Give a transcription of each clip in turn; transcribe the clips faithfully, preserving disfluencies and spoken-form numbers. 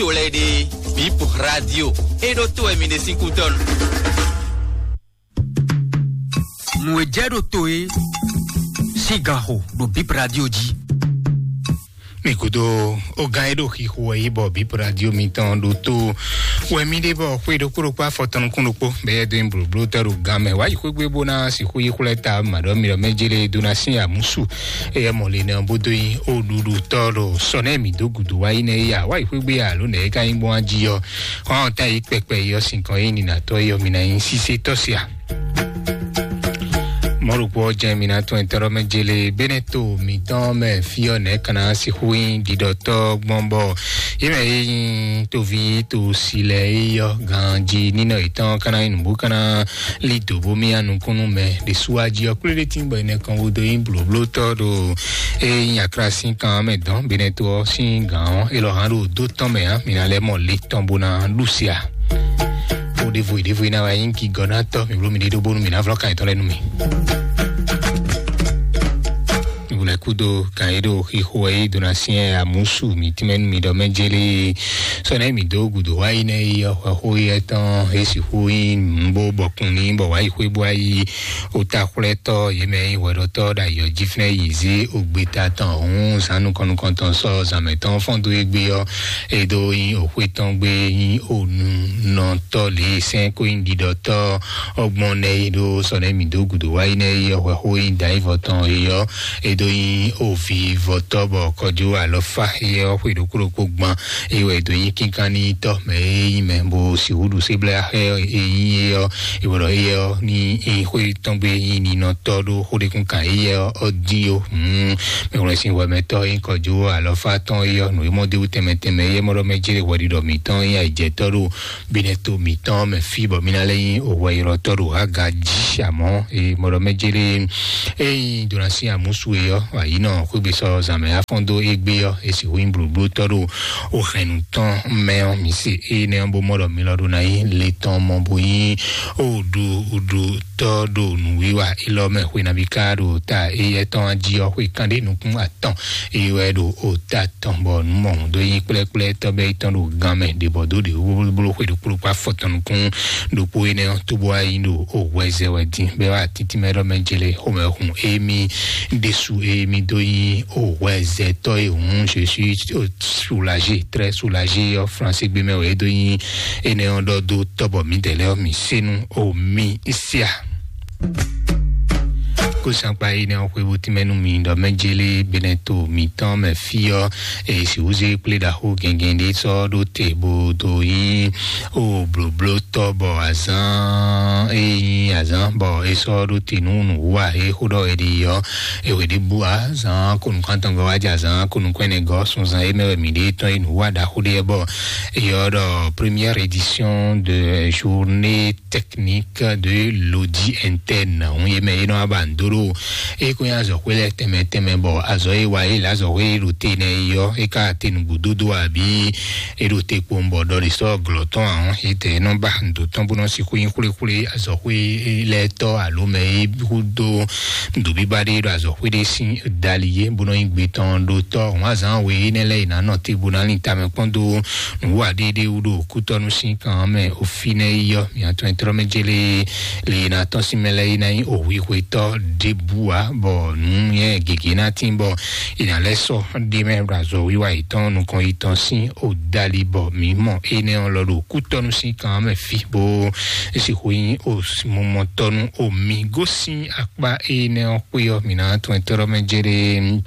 to lɛ́ɛ ɖe, Bip Radio, é ɖó to wɛ mi ɖe sín kútɔ́nu. Nǔ e jɛ ɖo to é sín ganxo ɖo Bip Radio jí. Mi gúdo, ó gán e ɖo xixo wɛ yi bɔ Bip Radio mitɔn ɖo to wɛ mi ɖe bɔ xwé ɖokpó ɖokpó afɔtɔn nukún ɖokpó bɛ yɛ dó nyi blǒbló tɔ́ ɖo gán mɛ. Wǎ yi xwé gbé bó ná sixú yi xwlɛ́ ta mǎɖɔ́ mi ɖɔ mɛ jélé dó ná sín amúsu. Eyɛ mɔ le nɛ ɔ́ bó dó nyi ó ɖuɖu tɔ́ ɖo sɔ nɛ mi dó gǔdo wá yi nɛ ya. Wǎ yi xwé gbé ya ló nɛ é ka nyí gbɔn jí ɔ́. Xɔ́n ta yi kpɛkpɛ yi ɔ́ sinkɔn yi nina tɔ́ yi ɔ́ mi ná nyí sísé tɔ́ sia. Mɔ̌ ɖokpó ɔ́ jɛ́n mi ná tún ɛtɛ́ mɛ jélé bɛ́nɛ́ to mǐtɔn mɛ fí ɔ́ nɛ̌ ka ná sixú nyí ɖiɖɔtɔ́ gbɔn bɔ yě mɛ e nyí toví to si lɛ́ɛ é yɔ́ ganjí nínɔ yětɔn ka ná nyí nǔbú ka ná lí dǒ bó mì nukúnnú mɛ ɖě sú wá jí ɔ́ kplé ɖé tín bɔ è nɛ kɔn bó dó nyí blǒblótɔ́ ɖo é nyí aklásin kan mɛ dɔn bɛ́nɛ́ to ɔ́ sín gǎn ɔ́ é lɔ hán ɖo dó tɔn mɛ ǎ mi ná lɛ́ mɔ le tɔn bó ná ɖu sia. Wo ɖevo yi ɖevo yi ná wá nyí gigɔ ná tɔ mi blo mi ɖe ɖo bónú mi ná vlɔ kan yětɔn lɛ nú mi. Wlɛ kúdo kan yé ɖo xixo wɛ yé dona siɛ amusu mi tínmɛ nú mi ɖɔ mɛ jélé sɔnɛ mi dó gudo wá yi nɛ yi ɔxɔ xó yɛ tɔn esi xó yi nbó bɔkun ní bɔ wá yi xwé bó wá yi ota xwlɛtɔ yé mɛ yi hwɛɖɔtɔ ɖo ayɔ jí fínɛ yi zé ogbeta tɔn hún zan nukɔn nukɔn tɔn sɔ zan mɛ tɔn fɔn dó égbé ɔ edo yin oxwe tɔn gbe yin onunɔtɔ le sɛn ko yin ɖiɖɔtɔ ɔgbɔn nɛ yi ɖo sɔ nɛ mi do gudo wa yi nɛ yi ɔhwɛ xo yin da yi vɔ tɔn yi ɔ edo yin ovi vɔtɔ bɔ kɔjo alɔfa yi ɔ xwe ɖokpo ɖokpo gban yi wɛ edo yin kinkan ni tɔ mɛ yi mɛ bo si wuɖu se bla xɛ yi yi ɔ iwɔ ɖɔ yi ɔ ni yi xwe tɔn gbe yin ninɔtɔ ɖo xo ɖekun kan yi ɔ ɔ di o. Mɛ wlɛ sin wɛ mɛ tɔ yi kɔjo alɔfa tɔn yi ɔ nu yi mɔ de wu tɛmɛ tɛmɛ yi mɔ ɖɔ mɛ jere wɛ ɖiɖɔ mitɔn yi ayi jɛ tɔ ɖo binɛ to mitɔn mɛ fi bɔ mina lɛ yi o wɛ yɔrɔ tɔ ɖo aga ji amɔ e mɔ ɖɔ mɛ jere e yi dona sin amusu yi ɔ ayi nɔ xwegbe sɔ zan mɛ afɔn do egbe ɔ esi hu yi blublu tɔ ɖo o hɛnnu tɔn mɛ ɔ mi se e nɛ ɔ bo mɔ ɖɔ mi lɔ ɖo na yi le tɔn mɔ bo yi o ɖu ɖu tɔ ɖo nǔwiwa élɔ́ mɛ xwe nabí ká ɖo ta éyɛ́ tɔn jí ɔ́ xwe kanɖé nukún atɔn eye wɛ ɖo ota tɔn bɔ nǔ mɔhun dó yí kplɛ́kplɛ́ tɔ́ bɛ́ yi tɔn ɖo gan mɛ ɖě bɔ dó ɖě blóbló xwe ɖokpó ɖokpó afɔtɔn nukún ɖokpó énɛ́ ɔ́ tó bó wá yí ɖo o hwɛzɛ wɛ dín bɛ́ wá títí mɛ ɖɔ mɛ jele xomɛ hun émí ɖésú émí dó yí o hwɛzɛ tɔ́ e hǔn je suis soulagé, très soulagé ɔ́ fransé gbé mɛ wɛ é dó yí énɛ́ ɔ́ ɖɔ dó tɔ́ bɔ mǐdɛɛ lɛ́ɛ ɔ́ mǐ sé nú o mì sia. Kó sankpa yi nɛ ɔ́ xwé bó tínmɛ nú mi ɖɔ mɛ jélé benɛ to mǐtɔn mɛ fí ɔ́ e sixú zé kplé ɖaxó gɛngɛn ɖé sɔ́ ɖó te bó dó yí o blǒbló tɔ́ bɔ azán e nyí azán bɔ é sɔ́ ɖó te nú nǔwa e xó ɖɔ è ɖi ɔ́ e wě ɖi bú azán ko nukún atɔngɔ́ wá jɛ azán ko nukún ɛnɛ gɔ́ sunzan e mɛ wɛ mǐ ɖe tɔn e nǔwa ɖaxó ɖé bɔ é ɔ́ ɖɔ première édition de journée technique de l'audit interne. Hun ye mɛ ye nɔ aba ndoro e ko nya azɔ xwe lɛ tɛmɛ tɛmɛ bɔ azɔ ye wa ye la azɔ xwe ɖo te nɛ yɔ e ka te nugbo dodo abi e ɖo te kpo bɔ ɖɔ de sɔ glɔ tɔn ahɔn e tɛ nɔ ba ndo tɔn bo nɔ si xwe xwle xwle azɔ xwe lɛ tɔ alo mɛ e hu do ndo biba ɖe ɖo azɔ xwe ɖe sin dali ye bo nɔ nyi gbe tɔn ɖo tɔ hun azan we enɛ lɛ yi na nɔ te bo na lin tamɛ kpɔn do nǔwa ɖéɖé wú ɖo kútɔ́nú sín kan mɛ òfin nɛ yi yɔ mìatɔn e tlɔ́ mɛ jélé le na tɔn sín mɛ lɛ yi na nyí òwihwetɔ́ ɖěbǔ ǎ bɔ nǔ nyɛ gěgé ná tín bɔ è nǎ lɛ́ sɔ́ ɖé mɛ ɖo azɔ wíwá yětɔn nukɔn yětɔn sín òdali bɔ mǐ mɔ énɛ́ ɔ́ lɔ ɖo kútɔ́nú sín kan mɛ fí bó sixú nyí òmumɔtɔ́nú omi gosín akpá énɛ́ ɔ́ xwé ɔ́ mǐ ná tɔn e tlɔ́ mɛ jélé.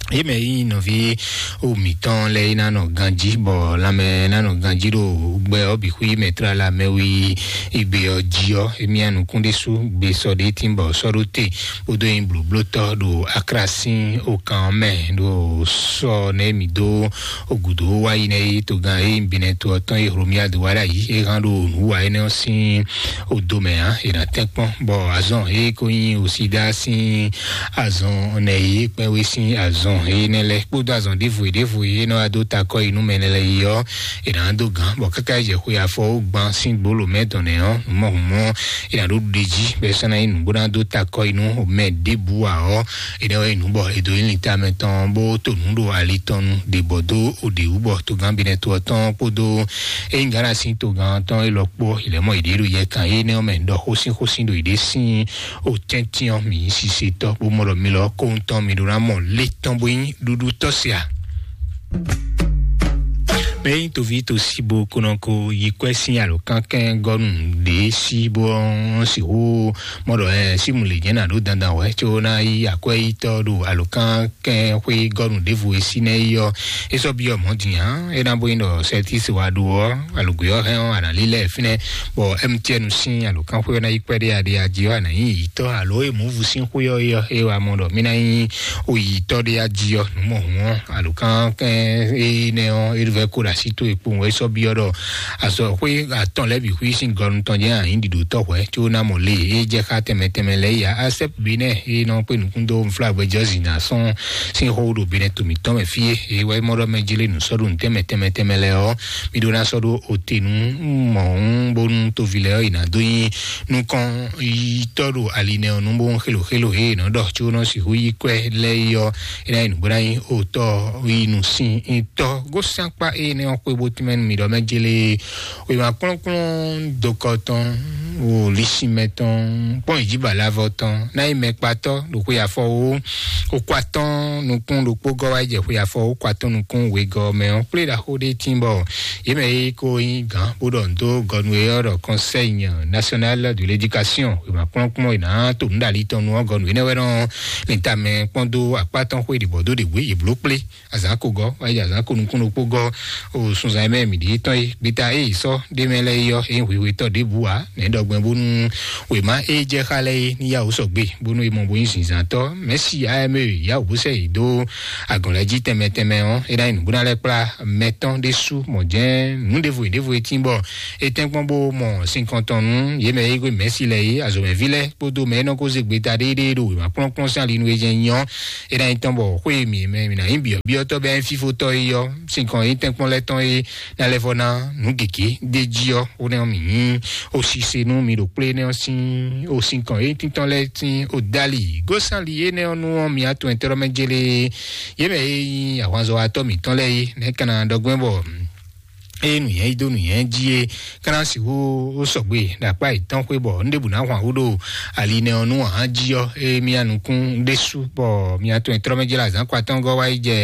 Ye mɛ yi nɔvi o mǐtɔn lɛ yi na nɔ ganjí bɔ lanmɛ na nɔ ganjí ɖo gbɛ ɔ́ bǐ xwí mɛ tlala mɛ wi igbe ɔ́ jí ɔ́ émí anukún ɖésú gbe sɔ ɖé tín bɔ sɔ́ ɖó te kpódó nyi blǒblótɔ́ ɖo aklásin okan ɔ́ mɛ ɖo sɔ nɛ mǐ dó ogudo wá yi nɛ yi togán e nyi binɛ to ɔ́ tɔn e hlomia do wá ɖ'ayǐ é hán ɖo nǔwa énɛ́ ɔ́ sín odo mɛ ǎ è nǎ tɛ́nkpɔ́n bɔ azɔn e ko nyi osídá sín azɔn nɛ yi kpɛ́wé sín azɔn Énɛ́ lɛ́ɛ kpódó azɔn ɖěvo e ɖěvo e é nɔ wá dó ta akɔ yi nú mɛ lɛ́ɛ yi ɔ́, è nǎ dó gǎn, bɔ káká yi jɛ xwe afɔ ó gban sín gbolo mɛ tɔn nɛ́ ɔ́, mɔ hǔn mɔ è nǎ ɖó ɖu ɖe jí bɔ é sɔ́ ná nyí nǔ bó ná dó ta akɔ yi nú mɛ ɖěbǔ ǎ ɔ́, énɛ́ wɛ nyí nǔ bɔ è dǒ nyi linta mɛ tɔn bó to nǔ ɖo ali tɔn nu ɖě bɔ dó ɖě wú bɔ togán binɛ to ɔ́ tɔn kpódó ényí Ghana sín togán tɔn élɔ́ kpó è lɛ́ mɔ yěɖée ɖo yɛ kan énɛ́ ɔ́ mɛ ɖɔ xósín xósín ɖo yěɖée sín o tɛ́ntin ɔ́, mǐ yí sisetɔ́ bó mɔ ɖɔ mi lɔ kóhun tɔn mi ɖó ná mɔ lé tɔn bó nyí ɖuɖu tɔ́ se a? Mɛ nyí toví to sí bo konɔ ko yi kwɛ́ sín alǒkankɛn gɔ́nu ɖě sí bó sixú mɔ ɖɔ ɛ símu lě nyɛ ná ɖó dandan wɛ có ná yí akwɛ́yítɔ́ ɖo alǒkankɛn xwé gɔ́nu ɖěvo e sí nɛ́ yi ɔ́, é sɔ́ byɔ́ mɔ̌ din ǎ. É ná bó nyí ɖɔ sɛtísi wa ɖo ɔ́, alǒgbé ɔ́ hɛn ɔ́, a nǎ lílɛ́ fínɛ́, bɔ M T N sín alǒkanxwé ɔ́ ná yi kpɛɖé aɖe ají ɔ́, a nǎ nyí yǐtɔ́ alo e mǔvu sín xwé ɔ́ é ɔ́, é wá mɔ ɖɔ mí ná nyí oyǐtɔ́ ɖé ají ɔ́, nǔ mɔ hǔn ɔ́, alǒkan kɛn énɛ́ ɔ́, é vɛ́ kó ɖo así towe kpowun wɛ é sɔ́ byɔ́ ɖɔ azɔ̌xwé atɔn lɛ́ɛ bǐ xwí sín gɔnu tɔn jɛ́n a nyǐ ɖiɖotɔ́ hwɛ̌ có ná mɔ lě e jɛ xá tɛnmɛ tɛnmɛ lɛ́ɛ yi ǎ. Asɛ́p Benɛ́ e nɔ kpé nukún dó nflágbɛ́jɔ́zǐn ná sɔ́n sín xó ɖo Benɛ́ to mǐtɔn mɛ fí e é wɛ mɔ ɖɔ mɛ jlé nǔ sɔ́ ɖo nǔtɛn mɛ tɛnmɛ tɛnmɛ lɛ́ɛ ɔ́, mí ɖó ná sɔ́ ɖó ote nú mɔ̌hún bónú toví lɛ́ɛ ɔ́ yi ná dó nyí nukɔn yitɔ́ ɖo ali nɛ ɔ́ nú bó xélo xélo he è nɔ ɖɔ có nɔ sixú yí kwɛ́ lɛ́ɛ yi ɔ́, é ná nyí nǔ bó ná nyí otɔ́ yi nǔ sin tɔ́ gósín akpá énɛ́ ɔ́ xwé bó tínmɛ nú mi ɖɔ mɛ jélé wěma kplɔ́nkplɔ́n dokɔ tɔn, wò lisinmɛ tɔn, kpɔ́n ìjíbalavɔ tɔn, ná nyí mɛkpatɔ́ ɖo xwe afɔ wó, xo kɔ atɔ́n nukún ɖokpó gɔ́ wá yi jɛ xwe afɔ wó kɔ atɔ́n nukún wegɔ́ mɛ ɔ́, kplé ɖaxó ɖé tín bɔ yě mɛ e ko nyí gǎn bó ɖɔ nǔ dó gɔnu e ɔ́ ɖɔ Conseil National de l'Éducation, wěma kplɔ́nkplɔ́n e nǎ to nǔ ɖo ali tɔn nu ɔ́, gɔnu énɛ́ wɛ nɔ lin tamɛ kpɔ́n dó akpá tɔn xwé ɖě bɔ dó ɖě wě yě bló kplé. Azǎn ko gɔ́, wá yi azǎn ko nukún ɖokpó gɔ́, o sunzan e mɛ mǐ ɖe tɔn e gbeta e yi sɔ́ ɖé mɛ lɛ́ɛ yi ɔ́, é nyí hwihwitɔ́ ɖěbǔ ǎ, nɛ̌ ɖɔ gbɛn bónú wěma e jɛ xá lɛ́ɛ é ní yá wǔ sɔgbe bónú é mɔ bó nyí zinzǎntɔ́. Mɛ̌si A M E yá wǔ bó sɛ yě dó agɔ̌n lɛ́ɛ jí tɛnmɛ tɛnmɛ ɔ́, é ná nyí nǔbúná lɛ́ɛ kplá mɛ tɔn ɖésú mɔ jɛ́n nǔ ɖěvo e ɖěvo e tín bɔ é tɛ́nkpɔ́n bó mɔ sinkɔn tɔn nú yě mɛ e hwé mɛ̌si lɛ́ɛ é, azɔ̌mɛví lɛ́ɛ kpódó mɛ e nɔ ko zé gbeta ɖéeɖée ɖo wěma kplɔ́nkplɔ́n sín ali nú é jɛ́n nyí ɔ́, é ná nyí tɔn bɔ xwé e mǐ mɛ mǐ ná nyí byɔ̌byɔ́tɔ́ bɛ́ fífótɔ́ é ɔ́, sinkɔn e nyí tɛ́nkpɔ́n lɛ́ɛ tɔn é ná lɛ́ vɔ ná nǔ gěgé d'é jí ɔ́, ó nɛ́ ɔ́ mǐ nyí osise nú mi ɖo kplé énɛ́ ɔ́ sín osinkɔn e nyí tíntɔ́n lɛ́ɛ sín odali gósánli énɛ́ ɔ́ nú ɔ́, mi atɔn ɛtɛ́ mɛ jélé yě mɛ e nyí ahwanzɔ́watɔ́ mǐtɔn lɛ́ɛ é, nɛ̌ ka ná ɖɔ gbɛ́ bɔ eye nǔnyɛ yi dó nǔnyɛ jí é, kana sixú ó sɔgbe ɖo akpá yětɔn xwé bɔ un ɖěbǔ ná hwan wú ɖo ali nɛ ɔ́ nú ahán jí ɔ́, é mía nukún ɖésú bɔ mia tɔn e tlɔ́ mɛ jlá azǎn kɔ atɔ́ɔ́ngɔ́ wá yi jɛ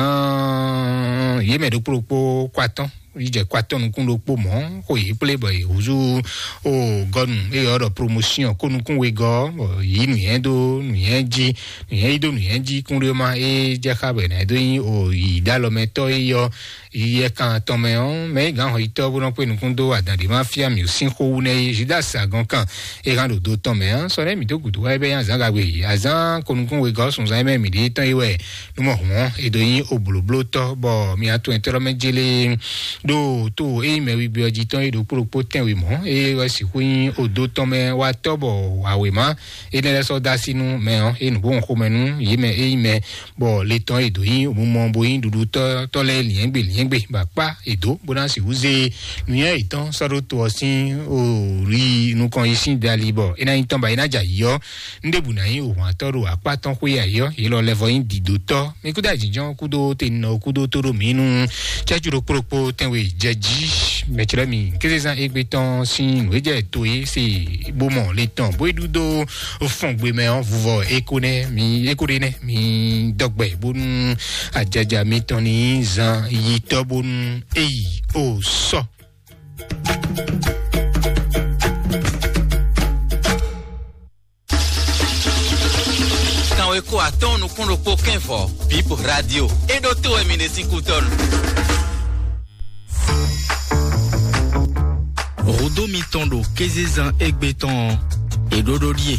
azǎn yě mɛ ɖokpó ɖokpó kɔ atɔ́ yi jɛ kɔ atɔ́ nukún ɖokpó mɔ̌ xo yě kplé bɔ yě húzú o gɔnu eye ɔ́ ɖɔ promotion kó nukún wegɔ́ bɔ yě nǔnyɛ dó nǔnyɛ jí nǔnyɛ yi dó nǔnyɛ jí kún ɖé ma é jɛ xá bɔ è nǎ dó nyí o yǐ ɖó alɔmɛtɔ́ é yɔ yɛ kan tɔn mɛ ɔ́, mɛ é gǎn hɔyitɔ́ bó nɔ kpé nukún dó adǎn ɖé ma fia mǐ sín xó wú nɛ́ é, Judas agɔn kan é hán ɖo do tɔn mɛ ɔ́, sɔ nɛ́ mǐ dó gǔdo wá é bɛ́ nyí azǎn gagbe yě. Azǎn ko nukún wegɔ́ sunzan é mɛ mǐ ɖe tɔn é wɛ nú mɔ hǔn ɔ́, è dǒ nyí oblǒblótɔ́, bɔ mǐ atɔn ɛtɔ́ mɛ jélé ɖo tó é nyí mɛ wigbe ɔ́ jí tɔn é ɖokpó ɖokpó tɛ́nwe mɔ̌, é wɛ sixú nyí odo tɔn mɛ wá tɔ́ bɔ awěma énɛ́ lɛ́ɛ sɔ́ dó así nú mɛ ɔ́, é nǔ bó hɔn xomɛ nú yě mɛ é nyí mɛ bɔ le tɔn e dǒ nyí mumɔ bo nyí ɖuɖutɔ́ tɔ́ lɛ́ɛ liɛ́ngbè liɛ́ngbè bɔ akpá e dǒ bó ná sixú zé nǔnywɛ́ yětɔn sɔ́ ɖó to ɔ́ sín o ri nukɔn yi sín dali bɔ é ná nyí tɔn ba é ná jɛ ayǐ ɔ́, un ɖěbǔ ná nyí òhwantɔ́ ɖo akpá tɔn xwé ayǐ ɔ́, yě lɔ lɛ́ vɔ nyí dǐdótɔ́. Mi kúdó ayǐjínjɔ́n kúdó teninɔ kúdó tóɖó mǐ nú cɛ́jú ɖokpó ɖokpó tɛnwe jɛ jí mɛ̌clɛ́ mi kézezán égbé tɔn sín nǔ e jɛ to é se bó mɔ le tɔn bó é ɖu dó fɔngbe mɛ ɔ́, vuvɔ éko nɛ́ mi éko ɖé nɛ́ mi dɔgbɛ bónú ajaja mitɔn ní zan yi tɔ́ bónú eyi o sɔ. Kanwe ko atɔn nukún ɖokpó kɛnvɔ Bip Radio. E ɖo to wɛ mi ɖe sín kútɔnu. Rodo mitɔn ɖo kézezán égbé tɔn ɔ́, e ɖó ɖó ɖíe.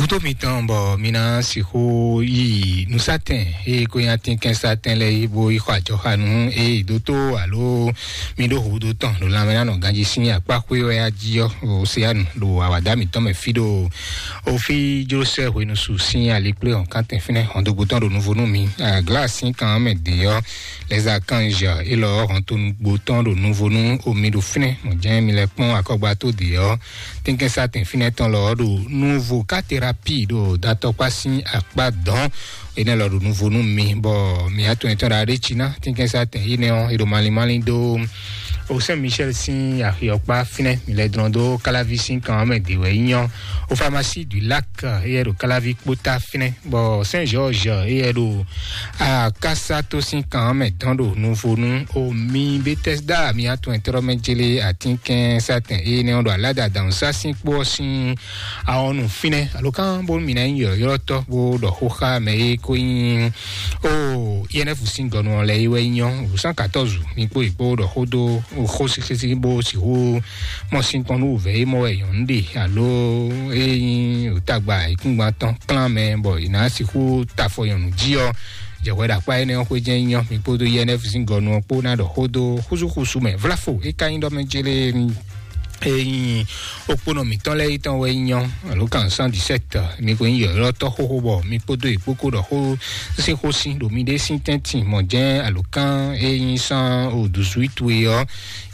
Kútó mitɔn bɔ mi ná sixú yi nǔsatɛn eye ko nyi atínkɛnsatɛn lɛ́ɛ yi bó yi xɔ ajɔxanu eye dótó alo mi ɖó hǔdó tɔn ɖo lanmɛ ná nɔ ganjí sín akpá xwé wɛ ají ɔ́, o se anu ɖo awǎdá mitɔn mɛ fí ɖo o fí jló sɛ hwenu su sín ali kplé hɔn kántɛn fínɛ́ hɔn dógbó tɔn ɖo nuvo nú mi. Glá sín kan mɛ dě ɔ́, lɛza kanzia élɔ́ hɔn tó nugbo tɔn ɖo nuvo nú omi ɖo fínɛ́ mɔ jɛ́n mi lɛ́ kpɔ́n akɔgba tó dě ɔ́, tɛ́nkɛ́nsatɛn fínɛ́ tɔn lɔ ɔ́ ɖo nuvo ká terapi ɖo datɔkpá sín akpá dɔn. Énɛ́ lɔ ɖo nuvo nú mi bɔ mi atɔn etɔn ɖa ɖé cí ná tɛ́nkɛ́nsatɛn énɛ́ ɔ́, é ɖo malín malín dó o Saint Michel sín axi ɔkpa fínɛ́. Mi lɛ́ dlɔ́n dó Káláví sín kan ɔ́ mɛ dě wɛ nyí ɔ́. O Pharmacie du Lac éyɛ́ ɖo Káláví kpótá fínɛ́, bɔ Saint Georges éyɛ́ ɖo Akasato sín kan ɔ́ mɛ dɔn ɖo nuvo nú o mi Bethesda mi atɔn etɔn mɛ jélé atínkɛn satɛn énɛ́ ɔ́ ɖo aláda dǎnsá sín kpó ɔ́ sín awɔnu fínɛ́. Alo kán bónú mi ná nyí yɔ̌yɔ́tɔ́ bó ɖɔ xó xá mɛ e ko nyí o I N F sín gɔnu ɔ́ lɛ́ɛ é wɛ nyí ɔ́, wǔsán katɔ́zu mi kpó yě kpó ɖɔ xó dó xó sísí bó sixú mɔ sín tɔn nú wǔvɛ́ e mɔ wɛ nyɔ̌nu ɖe alo e nyí tagba ayǐkúngban tɔn klán mɛ bɔ è nǎ sixú ta afɔ nyɔ̌nu jí ɔ́, jɛhwɛ ɖo akpá énɛ́ ɔ́ xwé jɛ́n nyí ɔ́, mi kpódó I N F sín gɔnu ɔ́ kpó ná ɖɔ xó dó xúsúxúsú mɛ. Vlafo é ka nyí ɖɔ mɛ jélé e nyí okponɔ mǐtɔn lɛ́ɛ yi tɔn wɛ nyí ɔ́, alo kan cent dix-sept, mi ko nyí yɔ̌yɔ́tɔ́ xóxó bɔ mi kpódó yě kpó kó ɖɔ xó sín xó sín ɖo miɖée sín tɛ́ntin mɔ̌ jɛ́n alo kan e nyí cent dix-huit é ɔ́,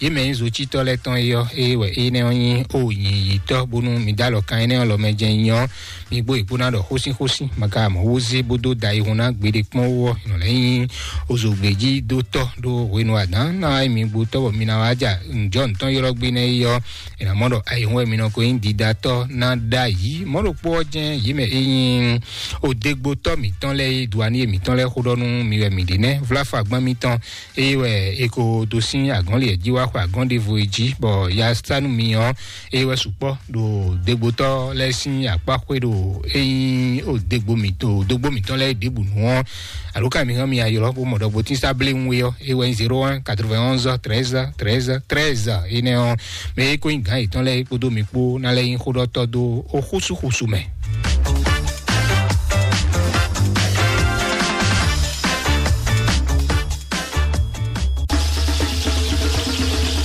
yě mɛ nyí zocítɔ́ lɛ́ɛ tɔn é ɔ́, é wɛ énɛ́ ɔ́ nyí o nyǐnyítɔ́ bónú mi dó alɔ kan énɛ́ ɔ́ lɔ mɛ jɛ́n nyí ɔ́, mi gbó yě kpó ná ɖɔ xósín xósín, ma ka mɔ wó zé bó dó da ayihun ná gbeɖé kpɔ́n wú ɔ́, è nɔ lɛ́ nyí ozogbejí dó tɔ́ ɖó hwenu adǎn ná wá nyí mi gbó tɔ́ bɔ mi ná wá ja nǔjɔ nǔtɔn ylɔ́ gbé nɛ́ é ɔ́, è nǎ mɔ ɖɔ ayihun wɛ mi nɔ ko nyí didatɔ́ ná ɖ'ayǐ. Mɔ̌ ɖokpó ɔ́ jɛ́n yě mɛ é nyí odégbotɔ́ mǐtɔn lɛ́ɛ é duaníye mǐtɔn lɛ́ɛ xó ɖɔ nú mi wɛ mǐ ɖe nɛ́, vláfɔ agbán mitɔn eye wɛ è ko dó sín agɔ̌n lě jí wá xɔ agɔ̌n ɖěvo é jí, bɔ ya sá nú mi ɔ́, eye wɛ sukpɔ́ ɖo dégbotɔ́ lɛ́ɛ sín akpá xwé ɖo é nyí o dégbo mǐtɔn dógbó mǐtɔn lɛ́ɛ ɖěbǔ nu ɔ́, alo ka mi hɛn mi aylɔ́ bó mɔ ɖɔ gbotín sá bléwún é ɔ́, é wɛ nyí zéro un quatre-vingt-onze treize treize treize énɛ́ ɔ́, mɛ é ko nyí gǎn yětɔn lɛ́ɛ é kpódó mi kpó ná lɛ́ nyí xóɖɔtɔ́ dó ó xúsúxúsú mɛ.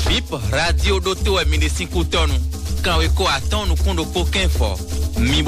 Bip radio ɖótó wɛ mi ɖe sín kútɔ́nu. Kanweko atɔ́ɔ́n nukún ɖokpó kɛ́nfɔ. Mi